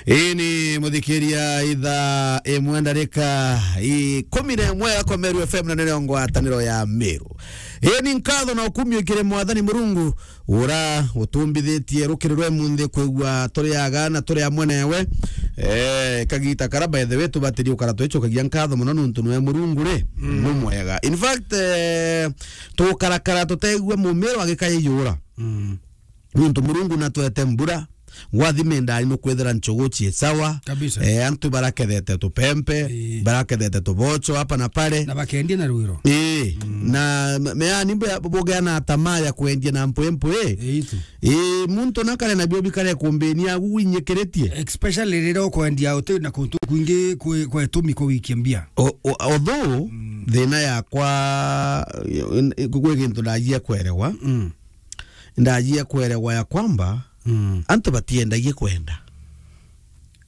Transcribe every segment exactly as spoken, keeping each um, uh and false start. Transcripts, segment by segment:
Ii ni muthikiria ithaa imwe ndarika ikumi na imwe ya Komeru F M na nene ngwataniro ya Meru. Ii ni nkatho na ukumio kiri Mwathani Murungu, ura utumbithitie rukiri rwe munthi kwigua turi aga na turi amwe newe. Eh, kagita kara, by the way, tubatiri ukara twicokagia nkatho muno nuntu nwe Murungu ri, mm, ni mwega. In fact, eh, tukarakara tutegua mumiru agikaya iyura. Mm. Nuntu Murungu natwete mbura, gwathime ndari nukwithira nchogo chie sawa. Kabisa. Eh, antu barakethete tupempe, ii, barakethete tubocho hapa na pale. Na bakendia na rwiro. Ii, mm, na me-, meani mbe bogea na tamaa ya kwendia na mpwempwe. Ii tu. Ii, muntu nakare na bio bikare kumbenia agu winyikiritie. Especially riria ukwendia uti na kuntu kwingi kwe, kwe tumi kwa wiki mbia. O-, o-, although, mm, thina yakwa, eh, kwi gintu ndajia kwerewa. Mm. Ndajia kwerewa ya kwamba, mm, antu batiendagia kwenda.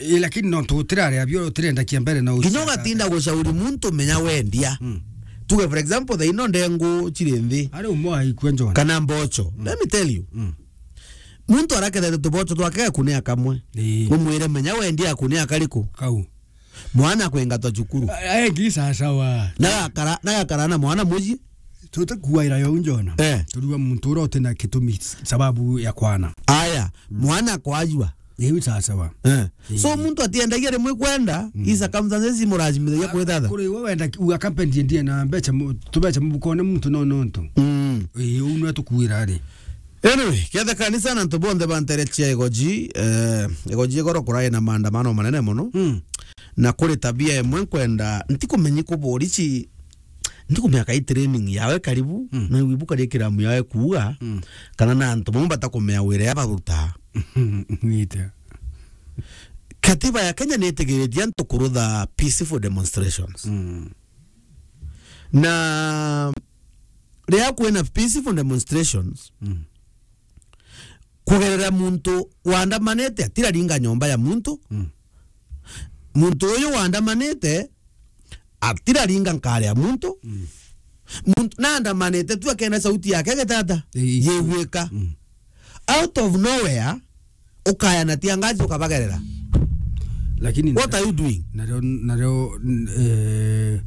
Ii, lakini no tutiraria bio, utirenda kia mbere na nginya ugatinda gucauri muntu menya wendia. Mm. Tuge, for example, thaino ndengu chiri nthi. Ari umwe aikua njona. Kana mbocho. Mm. Let me tell you. Mm. Muntu arakethete tubocho twake akunia kamwe. Ii. Umwire menya wendia akunia kariku. Kau. Mwana akwengatwa cukuru. A-, engi sasawa. Na gakara, na gakara na mwana muji. Tutikuaira yo njona. Eh. Turiwa muntu ura utina kitumi s-, sababu ya kwana. Aya, mm, mwana kwajua. Iu sasawa. Eh. Ii. So muntu atiendagia rimwe kwenda, mm, i circumstances imurazimithagia kwithatha. Kuri we wenda ki-, uga kapendi ndie na mbecha mu-, tubecha mubukone muntu no nontu. Mm. Ii, u nwe tukuira ri. Anyway, kethe kanisa na antu bonthe bantere chia igoji, eh, igoji igoro kurai na maandamano manene mono. Mm. Na kuri tabia imwe nkwenda, ntikumenyi ku borichi, ntikumenya kai training yawe karibu, mm, na ibu kari kiramu yawe kuuga, mm, kana na antu bamwe batakumenya wira ya baruta. Ngite. Katiba ya Kenya nitigiritie antu kurutha peaceful demonstrations. Mm. Na riria kwina peaceful demonstrations, mm, kugerera muntu wandamanite, atiraringa nyomba ya muntu. Mm. Muntu uyu wandamanite, atiraringa nkari ya muntu. Mm. Muntu nandamanite tu akenda sauti yake getata. Ii. Yigwika. Mm. Out of nowhere, ukaya na tia ngazi ukabagerera. Lakini what are you doing? Nario, nario, n-, eh,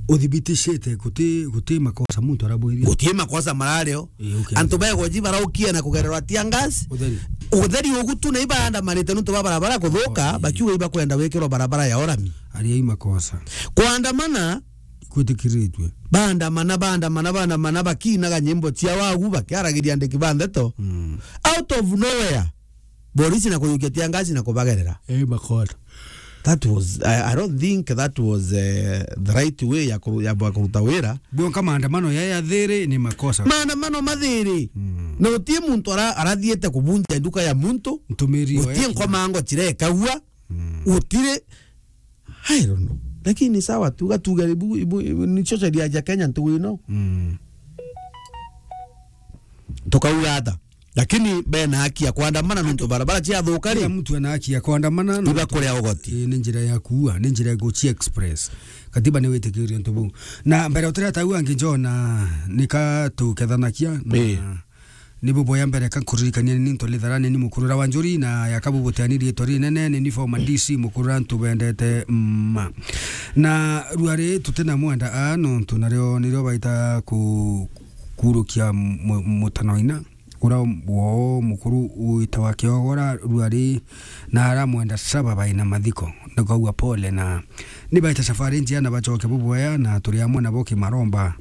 uthibitishite guti, guti makosa muntu arabwithia. Guti makosa marario. Ii, okay. Antu begoji baraukia na kugererwa tia ngazi. Utheri. Utheri ugu tu na ibaandamanite nuntu ba barabara kuthuka, oh, ii, bakiuga ibakwenda wikirwa barabara ya orami. Aria i makosa. Kwandamana kwitikiritwe. Bandamana, bandamana, bandamana, bakinaga nyimbo cia wagu, bakiaragiria andiki ba ndeto. Mm. Out of nowhere, borisi na kuyukia tia ngazi na kubagerera. Eh, makosa. That was, I, I don't think that was, eh, the right way ya kuru-, ya bwa kuruta wira. Bwonka maandamano ya, ya thiri ni makosa. Maandamano mathiri. Mm. Na utie muntu ara-, arathiete kubunja nduka ya muntu. Ntumiri. Utie nkomango chirekagua. Mm. Utire I don't know. Lakini sawa, tuga, tuga, ibu, ibu, ibu, nicio sheria cia Kenya ntugu ino. Mm. Tukauga ata? Lakini bena haki ya kwandamana nuntu barabara ciathuka ri? Kila mtu ana haki ya kwandamana. Iba kuria ugoti. Ii, ni njira ya kuua, ni njira ya guchi express. Katiba ni witikirie untu buu. Na mbere utirataua angi njona nika tukethanakia na, ii, ni buboya mbere ka nkuririkania ni ntu litharani ni mukurura wa njuri na yakabu buteani riitwa rinene ni ni former D C mukurura ntu bendete mma. Na ruari tutina mwenda a nuntu nario nirio baita ku-, kurukia mu-, mutanoina. Ura wo mukuru witawa Kiogora ruari na aramwenda saba baina mathiko. Nikaua pole na nibaite safari njia na bacoke buboya na turi amwe nabo kimaromba.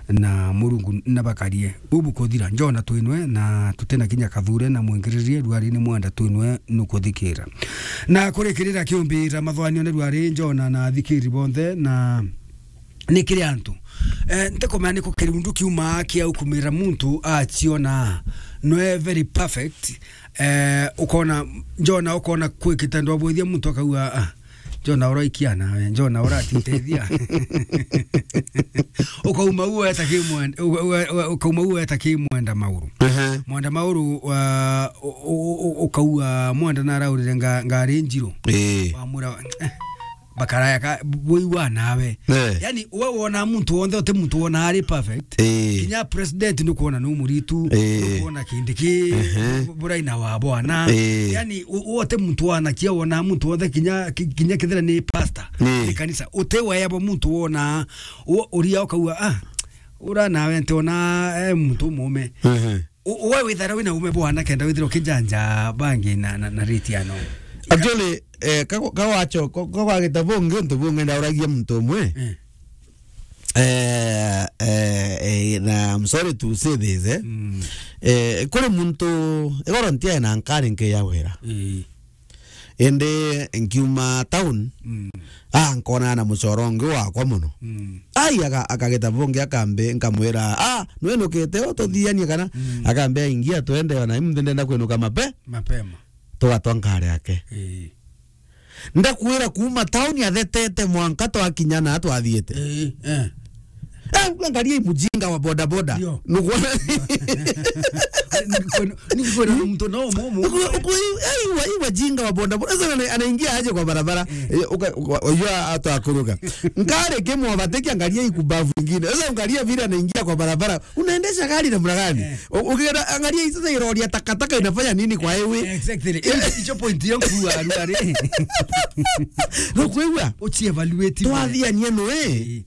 Na Murungu nabakarie. Bubu kuthira, njona twinwe, na tutina kinya kathure na mwingiririe, ruari ni mwenda twinwe nukuthikira. Na kurikirira kiumbira mathwanio ni ruari, njona na athikiri bonthe, na ni kiri antu. Eh, ntikumenya ni ku kirundu kiuma kia ukumira muntu aciona nwe very perfect. Eh, ukona, njona ukona kwikite ndwabwithia muntu akaua, ah, Jona uraikia nawe, Jona uratitethia. Ukauma uo eta kimwenda, uka-, uka-, uka-, ukauma uo eta kimwenda mauru. Ehe. Mwenda mauru, wa, u-, u-, u-, ukaua mwenda naraurire nga-, ngari njiru. Ii. Wamwira, eh, Bakaraya ka, bwigua nawe. Eh. Yani, we wona muntu wonthe, uti muntu wona ari perfect. Eh. Kinya president nukwona nu muritu, Eh. nukwona Kindiki, Ehe. buraina wa bwana. Eh. Yani, u-, u-, uti muntu wanakia wona muntu wonthe, kinya, ki-, kinya kethira ni pastor, Eh. ni kanisa. Uti weyabo muntu wona, u-, uria ukauga, "Ah, ura nawe ntiona, eh, muntu umume." Ehe. U-, we withara wina ume bwana kenda withira ukijanja bangi na, na, na rate ya no. Actually, eh, kago-, kawacho, ko-, kagwagita bungi, untu bungi ndauragia muntu umwe. Eh. Eh, eh, eh, na I'm sorry to say this, eh. Mm. Eh, kuri muntu, igoro ntiae na nkari nki ya wira. Eh. Indi nkiuma town, Mm. ah, nkona na mucoro ungi wakwa muno. Mm. Ai, aka-, akagita bungi akambi, nkamwira, "Ah, nwinukite ututhianie kana?" Mm. Akambi, "Ingia twende, ona imunthi ndenda kwinuka mape." Mapema. Tugatwa nkari yake. Ii. Ndakwira kuuma town athetete mwanka twakinya na twathiite. Ii, eh. Eh, angalia hii mjinga wa boda boda. Ndio. Nukwona? Niko-, niko na mtu nao momo. Uku-, uku-, hii, hii wa-, hii wajinga wa boda boda. Sasa ana-, anaingia aje kwa barabara? Eh. Eh, uka-, uka-, unajua hata akuruka. Nkare kemo abateke, angalia hii kubavu ingine. Sasa angalia vile anaingia kwa barabara. Unaendesha gari namna gani? Eh. U-, ukienda, angalia hii sasa, irori ya takataka inafanya nini kwa highway? Exactly. Hiyo, hicho point yangu wa, wa, wa, Nukwigua? Uchi evaluate. Twathiania noe. Eh.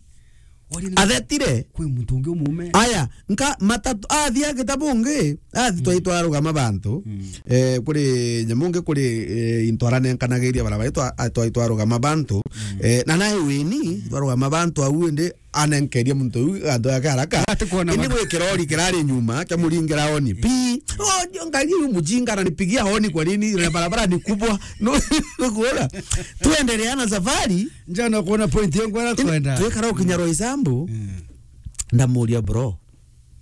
Ori na Athetire. Kwi muntu ungi umume. Aya, nka matatu, athia gitabu ungi. Athi, mm, twai twarugama bantu. Mm. Eh, kuri nyamu ungi kuri, eh, into aranenkanagiria barabara, twa-, a-, twai twarugama bantu. Mm. Eh, na nae wini, mm, twarugama bantu au indi anenkeria muntu uyu antu yake haraka. Ati kuona. Indi ma- gwi kirori kirari nyuma, kia muringira honi. Mm. Pi. Oh, ndio ngai uyu mujinga ananipigia honi kwa nini? Na barabara ni kubwa. No, kuona. Tuendelea na safari. Njana kuona point yangu ara kwenda. Twikara ukinya Roysambu. Mm. Ndamuria bro.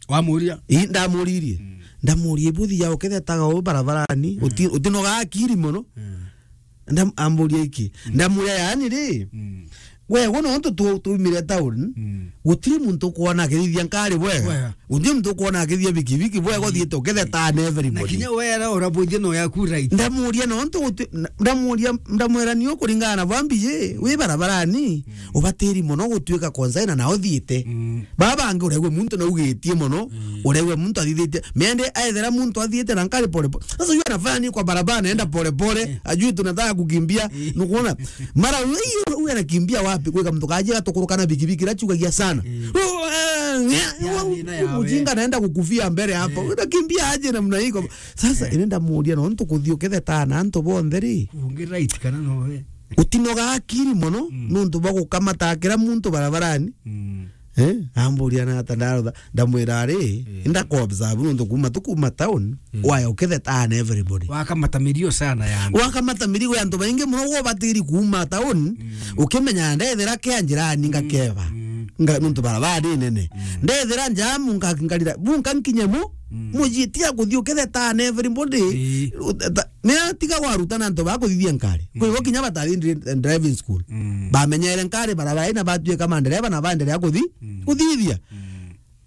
Wamuria? Ii, ndamuririe. Mm. Ndamuria ibuthi ya ukethetaga u barabarani, mm, uti-, utinoga akiri mono. Mm. Ndam-, amburia iki. Mm. Ndamuria yani ri, mm, we, we nontu tu-, tuumire town, mm, gutiri muntu ukwona akithithia nkari bwega. Bwega. Gutiri muntu ukwona akithithia bikibiki bwega, mm, uthiite ukethetana everybody. Na kinya wera urabuthia no yaku right. Ndamuria nontu guti-, na-, ndamuria, ndamwira ni ukuringana na bwambi je, wi barabarani, mm, ubatiri mono gutuika consigner na uthiite. Mm. Baba bangi uregwe muntu naugitie mono, mm, uregwe muntu athithitie. Mende aethera muntu athiite na nkari pole pole. Sasa yeye anafanya nini kwa barabara, anaenda pole pole, eh, ajui tunataka kukimbia. Eh. Nukuona? Mara huyu, huyu anakimbia wapi? Kwika mtu kaje atukuruka na bikibiki, la chukagia sana. Eh. Oh, eh, ya, ya, oh, ina ya mujinga we. Anaenda kukufia mbele hapo. Eh. Unakimbia aje namna hii kwa-, sasa, eh, inaenda muria, no ntu kuthio kethe tana antu bonthe ri. Ungi right kana no we. Utinoga akiri mono, mm, nuntu bwa gukamata kira muntu barabarani. Mm. Eh, amburia na ata ndarotha, ndamwira ari, eh, inda ku observe nuntu kuma tu kuma town, mm, waya ukethe tana everybody. Wakamata mirio sana yani. Wakamata mirio ya antu baingi muno, wo batiri kuma town, mm, ukimenya ndethira kia njirani, mm, ngakeba. Mm. Nga-, nuntu barabara ni nene. Mm. Ndethira njamu nga-, ngarira, bu nka nkinye mu, mm, muji tiga kuthii ukethe tana everybody. Ii. Uta-, ta-, ni atiga gwaruta na antu ba kuthithia nkari. Mm. Kwi bo kinya batathi dri-, driving school. Mm. Bamenyere nkari barabara ina batuika mandereba na baendelea kuthi-, mm, kuthithia. Mm.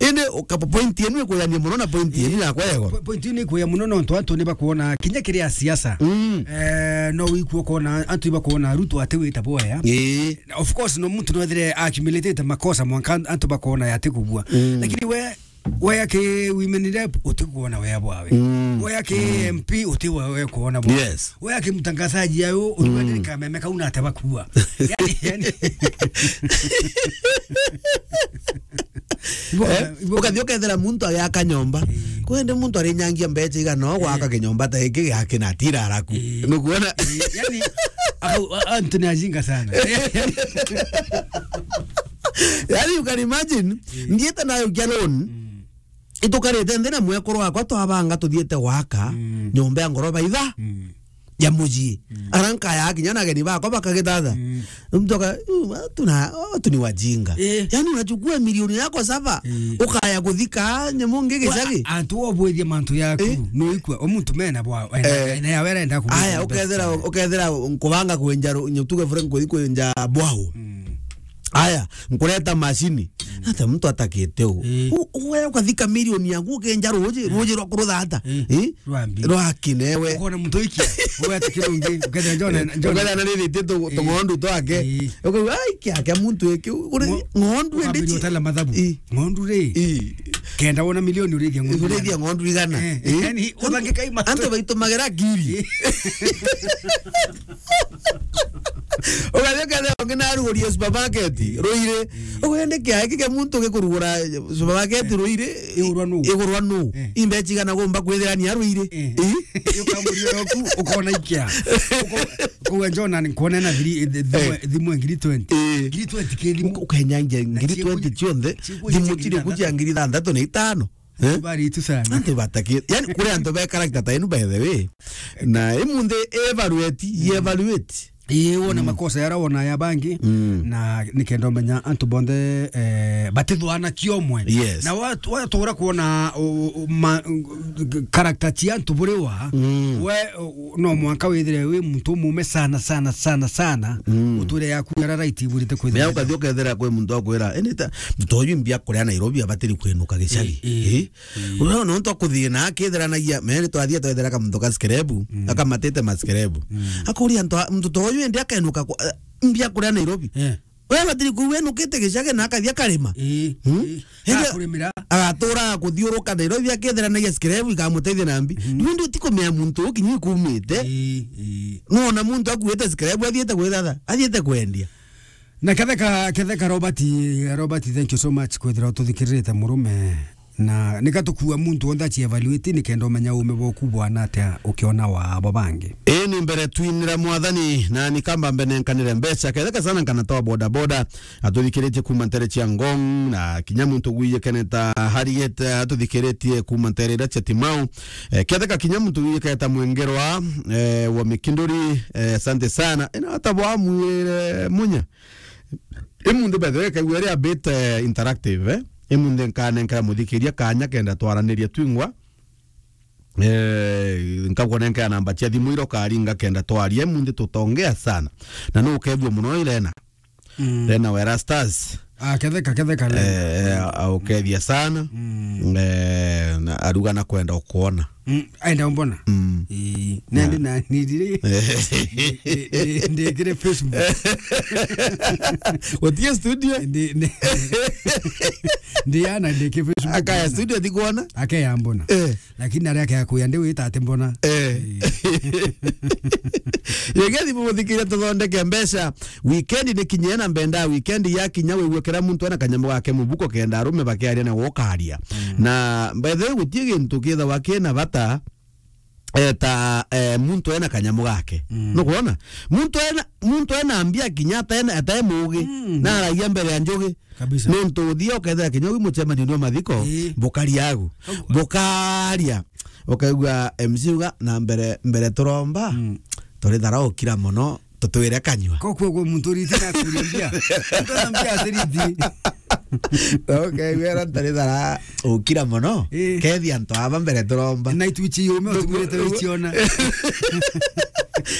Indi uka-, point yenu ikuyania muno na point yenu yakwa yego. Po-, point yenu ikuya muno nontu antu ni bakuona kinya kiri a siasa. Mm. Eh, no wikua kuona antu ibakuona Ruto ati wita boya. Ii. Of course, no muntu no ethire accumulated makosa mwanka antu bakuona yati kubua. Mm. Lakini we, we aki women rep, utikuona wea bwawe. Mm. We aki, mm, M P, uti we, we kuona bwawe. Yes. We aki mtangazaji ayo, utuanire, mm, kameme kau na ate bakua. Yani, yani. Ibo-, eh? Ibo-, ukathi ukethira muntu agiaka nyomba. Eh. Kwende muntu arinyangia mbecha igana o gwaka, eh, kinyomba ta giki giaki na tira araku. Eh. Nukuona? Eh, yani, au, a-, antu ni ajinga sana. Yani, you can imagine, eh, ndiite nayo kia loan. Mm. Itukarite nthi na mwekuru wakwa twabanga tuthiite gwaka, mm, nyomba ya ngoroba itha. Mm. Ya mucii. Mm. Ara nkaya kinya na ageni bakwa bakagithatha. Mm. Mtu aka-, "Uh, watu na, watu ni wajinga." Eh. Yani unachukua milioni yako saba, eh, ukaya kuthika nyamu ngi gicagi. Antu obwithia mantu yaku, eh, no ikua, o muntu mena bwa, ena, eh, ena ya wera enda ku-, aya, ukethira, ukethira nkubanga kwenja ru-, nyo tuge fure nkuthi kwenja bwahu. Mm. Aya, nkureta macini. Ata muntu atakite u. Ii. U-, uwe ukathika milioni yaku ukenja ruji, ruji rwa kuruthata. Ii. Ii? Rwambi. Rwakinewe. Ukona muntu iki. Uwe atakirungi. Ukenda njona, njona. Ukenda na riri tu, tu ng'ondu twake. Ii. Ukauga, "Ai, kia, kia muntu iki, uri Ngo-, ng'ondu ukambiri endi chi." Utala mathabu. Ii. Ng'ondu ri. Ii. Kenda wona milioni urithia ng'ondu. Urithia ng'ondu igana. Eh, ii. Yani, uthangika ima. Antu baitumagera ngiri. Ii. Ugathi ukethira ungi narugurie supermarket, ruiri. Ugende kia, iki kia muntu gikurugura supermarket, ruiri. Igurwa nu? Igurwa nu? Eh. Imbechi igana gumba kwithira ni aruiri? Eh. Ii? Iyo kamuri yoku, ukona ikia. Uko-, kuwe John, nani kuona na thiri-, eh, thimu, eh, thimu ngiri twenty. Eh. Ngiri twenty ke thimu. Uka-, ukenyangia ngiri twenty cionthe, thimu chiri kuchia ngiri thanthatu na itano. Eh? Bari tu sana. Antu bataki-, yani, kuri antu be character ta inu, by the way. Na imunthi evaluate, ye evaluate. Ii, wona makosa yara wona ya bangi, mm, na nikenda umenya antu bonthe, eh, batithwana kiomwe. Yes. Na wa-, watura kuona, u-, u-, ma-, character cia antu buriwa, mm, we, u-, no mwanka withire wi muntu umume sana, sana, sana, sana, mm, uture yaku yara right iburite kwithira. Mea ukathi ukethira kwi muntu akwira, "Indi ta, muntu uyu mbia kuria Nairobi abatiri kwinuka gicagi." Ii, ii. Ii? Mm. Uria nontu akuthina akithiranagia, meri twathia twethera kamuntu ka scrap, mm, akamatite ma scrap. Mm. Akuria antu a-, muntu ta uyu indi akenuka ku-, eh, mbia kuria Nairobi. Eh. We abatiri kuu enukite gicagi na akathia karima. Ii, hmm? Ii. Indi akurimira. Agatura kuthiuruka Nairobi akithiranagia scrap ikamuteithia na mbi. Mm. Riu ndi utikumenya muntu ukinyi kumite. Ii, ii. Nona muntu akuite scrap athiite gwithatha, athiite kwendia. Na Ketheka, Ketheka Robert, Robert, thank you so much kwithira ututhikiririte murume. Na nika tukua muntu wonthe achi evaluate nikenda umenya ume boku bwana atia ukiona wa abo bangi. Ii ni mbere twinira Mwathani na nikamba mbe nenkanire mbeca Ketheka sana nkana twa boda boda atuthikiritie kuma ntere cia Ngong na kinya muntu gwiyekene ta Harriet atuthikiritie kuma ntere ira cia Timau. Eh, Ketheka kinya muntu gwiyekene ta Mwengerwa, eh, wa Mikinduri, eh, asante sana. Ina hata bwa mwire munya. Imunthi, by the way, kaigua iri a bit, eh, interactive, eh? Imunthi nkanenkera muthikiria kanya kenda twaraniria twingwa. Eh, nkakunenkera namba cia thimu ira ukaringa kenda twaria. Imunthi tutongea sana. Na no ukethua muno Irena. Mm. Irena wa Erastus. Ah, Ketheka, Ketheka, Lena. Eh, eh, aukethia sana. Mm. Eh, na aruga na kwenda ukuona. Mm, aenda umbona? Mm. Ii, nandi na nindire. Eh. Ndi-, ndi-, ndikire Facebook. Utie studio? Ndi-, ndi-, ndi ana ndike Facebook. Akaya studio thikuona? Akaya mbona. Eh. Lakini aria akaya kuya ndi wita ati mbona. Eh. Ii. Yegethi muthikiria tuthondeke mbeca. Weekend ni kinyie na mbenda weekend ya kinya wigue kira muntu ena kanyamu gake mubuko kenda arume bakiaria na gukaria. Mm. Na by the way, gutie gintu kithawa kina bata, eh, ta, eh, muntu ena kanyamu gake. Mm. Nukwona? Muntu ena, muntu ena mbia kinya ata ena, ata mugi. Mm. Na aragia mbere ya njugi. Kabisa. Nontu uthia ukethira kinya wi mucemanio ni wa mathiko, ii, bukari agu. Agu. Bukaria. Ukaigua M C uga, "Na mbere, mbere turomba, mm, turi thara ukira mono, tutwire kanyua." Ko kuo kuo muntu uriti na kuria mbia. Muntu na mbia atiriti. Na ukaigua era ntari thara ukira mono, ii, kethi antu aba mbere turomba. Na ituchi yume utigurite wichiona.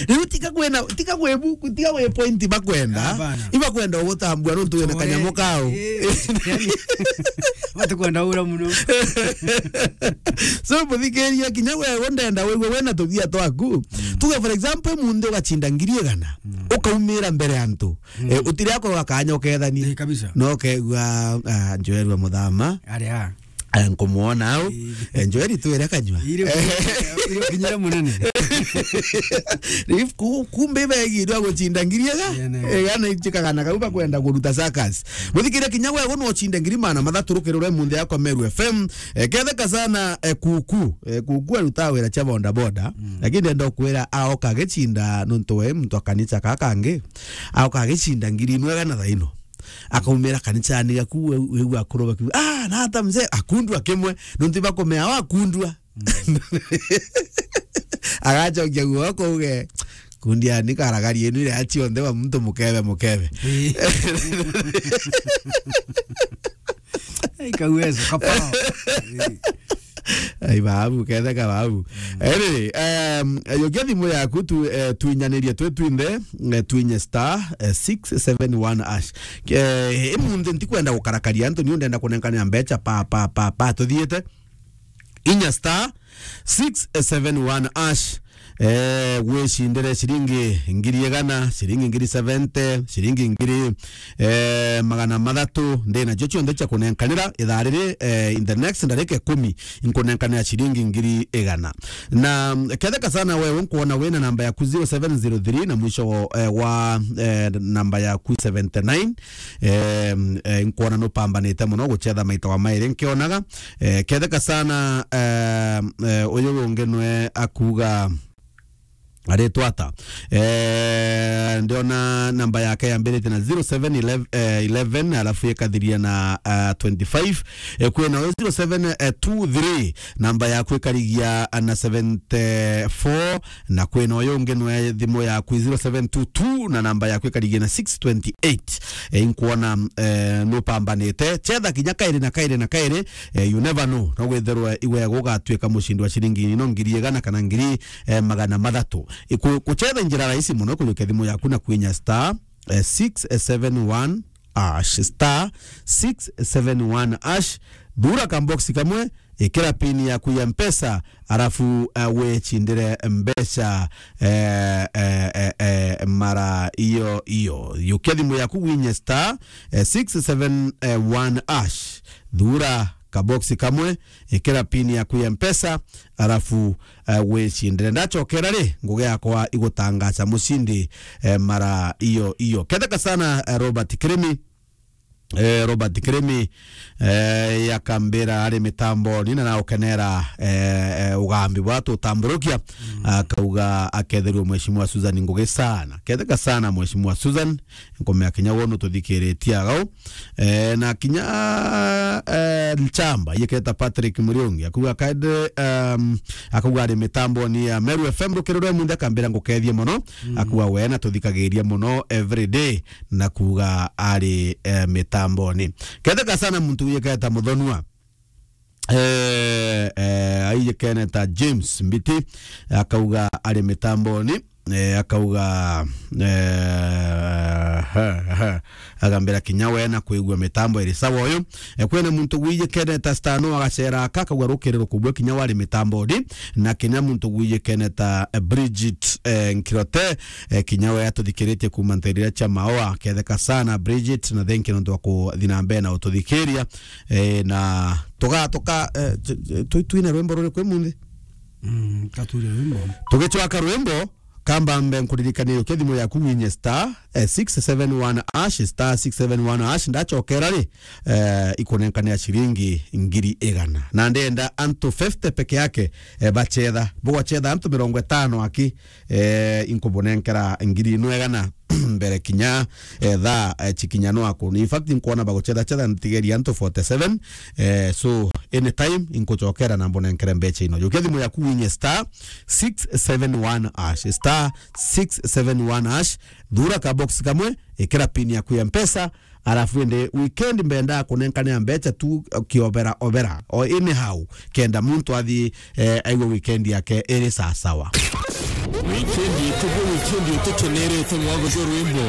Riu tiga kwina, tiga kwi buku, tiga kwi point bakwenda. Hapana. Ibakwenda ugutambua nontu wina kanyamu kao. Ii, yani, batikwenda ura muno. So, muthikiria, kinya wewe ndenda wigue wina tubia twaku. Mm. Tuge, for example, munthi ugachinda ngiri igana, mm, ukaumira mbere ya antu. Mm. Eh, utiri akorwa kanya ukethania. Ii, kabisa. No ukegua, ah, Joel wa Muthama. Ari a. Eh, nkumwona au. Ii. Eh, Joel twire kanyua. Iri, iri kinyira munene. Riu ku-, kumbe ibegirwe guchinda ngiri ega. Ii, ne. Ega na ichikagana kau bakwenda kuruta circus. Muthikiria, kinya wewe no uchinde ngiri magana mathatu rukirure munthi yakwa Meru F M. Eh, Ketheka sana, eh, Kuku. Eh, Kuku arutaga wira cia boda boda. Mm. Lakini ndenda ukwira aoka agichinda nontu we muntu wa kanisa ka kangi. Aoka agichinda ngiri imwe ega na thaino. Akaumira kanisani gaku, we, we, we akuru bakiuga, "Ah, na ata mzee?" Akundua kimwe, nontu bakumea, "Oh, akundua." Mm. Agacokia guoko uge, "Kundia ni karagari yenu iria cionthe wa muntu mukebe, mukebe." Ii. Ai, kauwezo, kapao. Ii. Ai, babu, ketheka babu. Anyway, um, yukia thimu yaku tu, eh, twinyanirie twi twinthe, eh, twinye star, eh, six seven one hash. Eh, imunthi ntikwenda gukarakaria antu, ni undenda kunenkanira mbecha pa, pa, pa, pa, tuthiite. Inya star six seven one hash. Eh, gwicindire ciringi ngiri igana, ciringi ngiri seventy, ciringi ngiri, eh, magana mathatu, ndi nacio cionthe cia kunenkanira ithaa riri, eh, in the next ndarika ikumi, nkunenkanira ciringi ngiri igana. Na, mm, ketheka sana wewe nkuona wina namba yaku zero seven zero three na mwisho, eh, wa, eh, namba yaku seventy nine, eh, eh, nkuona nupambanite muno gucetha maita wa mairi nkionaga, eh, ketheka sana, eh, eh, uyu ungi nwe akuga aritwa ata? Eh, ndiona namba yake yambirite na zero seven eleven, eh, eleven, alafu ikathiria na, ah, twenty-five. Eh, kwina uyu zero seven two three, namba yaku ikarigia na seventy-four, na kwina uyu ungi nwe thimu yaku zero seven two two, na namba yaku ikarigia na six twenty-eight. Eh, inkuona, eh, nupambanite. Chetha kinya kairi na kairi na kairi, eh, you never know. No withirwe iwe gugatuika mucindi wa ciringi ino ngiri igana kana ngiri, eh, magana mathatu. Iku-, kuchetha njira rahisi muno kujukia thimu yaku na kwinya star, eh, six seven one hash, star six seven one hash, thura kambox kamwe, ikira pin yaku ya Mpesa, arafu, eh, wicindire mbeca, eh, eh, eh, eh, mara iyo iyo. Yukia thimu yaku winye star, eh, six seven one hash, thura kabox kamwe, ikira pin yaku ya Mpesa, arafu, eh, wicindire. Ndachokera ri, ngugi yakwa igutangaca mucindi, eh, mara iyo iyo. Ketheka sana, eh, Robert Kirimi, eh, Robert Kirimi, eh, yakambira ari mitamboni na naukenera, eh, eh, ugambi bwa tutamburukia, akauga aketherua Mheshimiwa Susan Ngugi sana. Ketheka sana Mheshimiwa Susan, nkumea kinya wono tuthikiritie agau. Eh, na kinya, eh, Nchamba, yiketa Patrick Muriungi, akuga kaende, um, akuga ari mitamboni ya Meru F M rukiri rwe munthe, akambira ngukethie muno, akuga we na tuthikagiria muno every day, na kuga ari, eh, mitamboni. Ketheka sana muntu yiketa Muthonua. Eh, eh, aiyikene ta James Mbiti, akauga ari mitamboni, eh, akauga, eh, he, he, agambira kinya we na kwigua mitambo iri sawa uyu. Eh, kwina muntu gwiyikene ta Stano agacera aka, akauga rukiri rukubwe kinya wari mitamboni, na kinya muntu gwiyikene ta, eh, Bridget, eh, Nkirote, eh, kinya we atuthikiritie kuma nterira cia Maoa. Ketheka sana Bridget, na thank you nontu wa kuthi na mbere na ututhikiria. Eh, na tuga-, tuka-, eh, tu-, tu-, tu-, twine rwimbo ruriku imunthi? Mm, katwire rwimbo. Tugicwaka rwimbo, kambambe nkuririkanie ukia thimu yaku winye star, eh, six seven one hash, star six seven one hash, ndachokera ri, eh, ikunenkanira ciringi ngiri igana. Na ndenda antu fifty peke yake, eh, bachetha. Bugwachetha antu mirongo itano aki, eh, inkubunenkera ngiri ino igana mbere kinya, eh, thaa, eh, chikinya no akuni. In fact, inkuona baguchetha chetha ntigeria antu forty-seven. Eh, so, anytime inkuchokera na mbunenkere mbecha ino. Jukia thimu yaku winye star six seven one hash, star six seven one hash, thura ka box kamwe, ikira pin yaku ya Mpesa, arafu indi weekend mbenda kunenkanira mbecha tu kiobera obera, o anyhow, kenda muntu athi, eh, aiwe weekend yake iri sawa sawa. Weekend itu, weekend itu tukenerete mwago rwimbo.